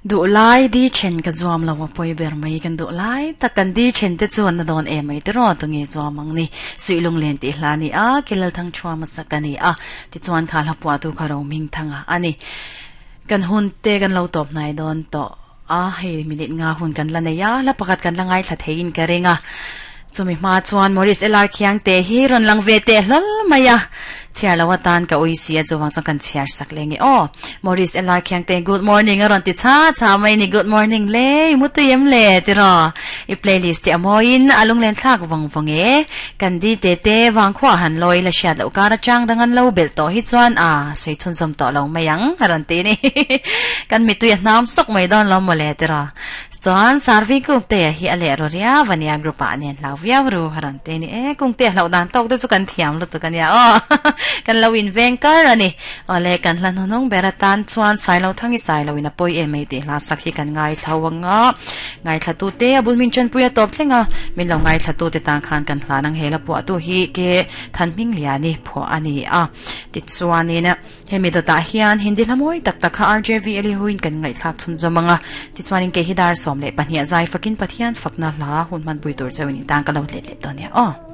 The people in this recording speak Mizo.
Duhlai di then ka zuam lo a pawi ber mai kan duhlai tak kan di then te chuan na dawn em mai tiraw tunge zuam ang ni suih lunglen tih hla a ni a Kelalthang Thuama sak a ni a tichuan kha hla puah tu kha Roming Thanga a ni kan hun te kan lo tawp hnai dawn tawh a hei minute nga hun kan la nei a hla pakhat kan la ngaithla theiin ka ring a chumi hma chuan Maurice LR Khiangte hi rawn lang ve teh hlawl mai a. Chhiar lo atan ka ui si a chuvang chuan kan chhiar sak leh nge aw. Maurice LR Khiangte good morning a rawn ti chha chha mai ni good morning le i mutui em le tiraw i playlist hi a mawiin a lunglen thlak vawng vawng e. Kan di te te vangkhua han lawi la hriat loh kar atang dang an lo belh tawh hi chuan a sawi chhunzawm tawh lo mai ang a rawn ti ni. Kan mitui a hnam sawk mai dawn lo mawle tiraw. Chuan Sarvi Kungtea hi a leh ru riau a nia group ah nen hlau viau ru a rawn ti a ni e Kungtea hlauh dan tawk te chu kan thiam lutuk a nia aw kan lo in veng kar a ni awle kan hla hnuhnung ber atan chuan Sailo Thangi Sailo in a pawi em mai tih hla sak hi kan ngaithla ang a ngaithla tu te a bul min tanpui a tawp thleng a min lo ngaithla tu te tan khan kan hlan ang hela phuah tu hi ke Thanhming Liani phuah a ni a tichuanin Hemi dawtah hian Hindi hla mawi tak tak kha RJV Elihuin kan ngaihthlak chhunzawm ang a, tichuanin kei hi dar 12 zai fakin Pathian fakna hla hun hmanpui tur chauhin i tan ka lo let leh dawn nia aw.